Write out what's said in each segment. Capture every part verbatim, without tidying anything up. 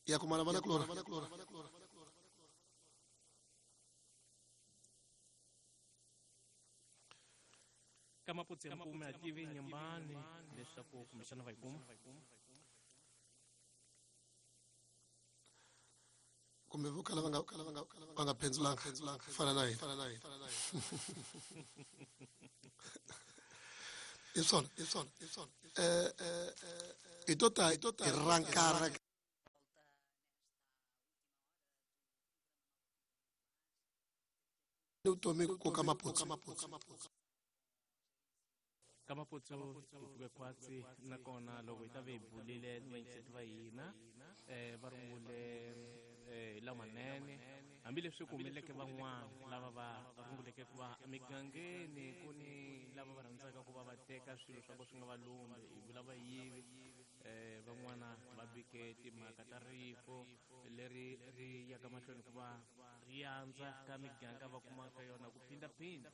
Ya kumana vana kulora. Ka Maputsu ya Mpume a tivi Nyambani leswaku kumbexana va yi kuma. Kumbe vo kala va nga va nga phendzulanga fana na hina. I swona, i swona, i swona. Eh eh i to ta i rankara vutomi ku ka Maputsu. Ka Maputsu hi pfuke khwatsi nakona loko hi ta ve hi bulile ni vayingiseti va hina eh va rungule eh lamanene hambileswi ku humeleleke van'wana lava va runguleke ku va emigangeni ku ni lava va rhandzaka ku va va teka swilo swa ku swi nga va lumbi hi vula vayivi eh van'wana va bike timhaka ta rifu leri ri yaka mahlweni ku va ri andza ka miganga va kumaka yona ku phindaphinda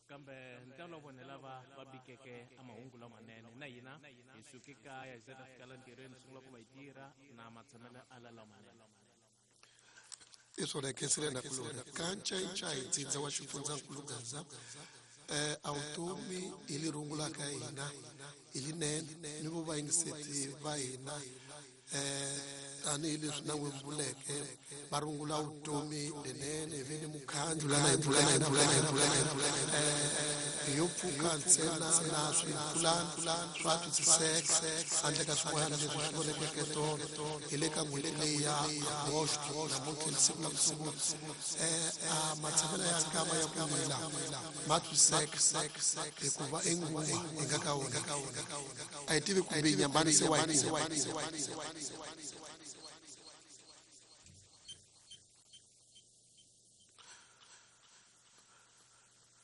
kambe ntalo wa vona lava va bikeke a mahungu lamanene na hina hi suke kaya hi ze ta fika la ntirhweni sungula ku va hi tirha na matshamelo ala lamanene. I swona khensile na kulora ka ncayincayi ntsindza wa xifundzankulu Gaza eh a vutomi hi li rungulaka hina hi linene ni vo vayingiseti va hina eh tanihileswi na n'wi vuleke va rungula vutomi lenene hi ve ni mukhandlu lana hi vulaka hi vulaka hi vulaka hi vulaka eh yo pfuka ntsena na swipulani swa twisiseka handle ka swin'wana leswi swi vonekeke tolo hi le ka n'hweti leyi ya Agosto namuntlha hi siku la ku sungula eh a matshamelo ya nkama ya ku wila ma twisiseka hikuva i nguva hi nga ka wona a hi tivi kumbe Nyambani se wa yi kuma.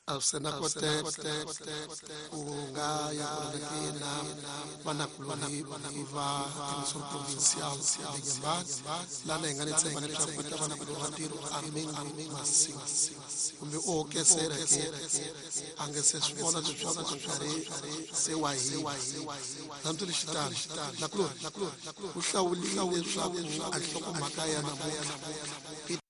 A swi na koteka ku nga ya ku na vanakulorhi va emisoro provincial de Nyambani lana hi nga ni tshemba leswaku va ta va na ku ntirho a mingi masiku kumbe o hokesela ke a nga se swi vona leswaku a nkarhi se wa hina hambileswitano nakulorhi ku hlawuliwe leswaku a nhlokomhaka ya namuntlha i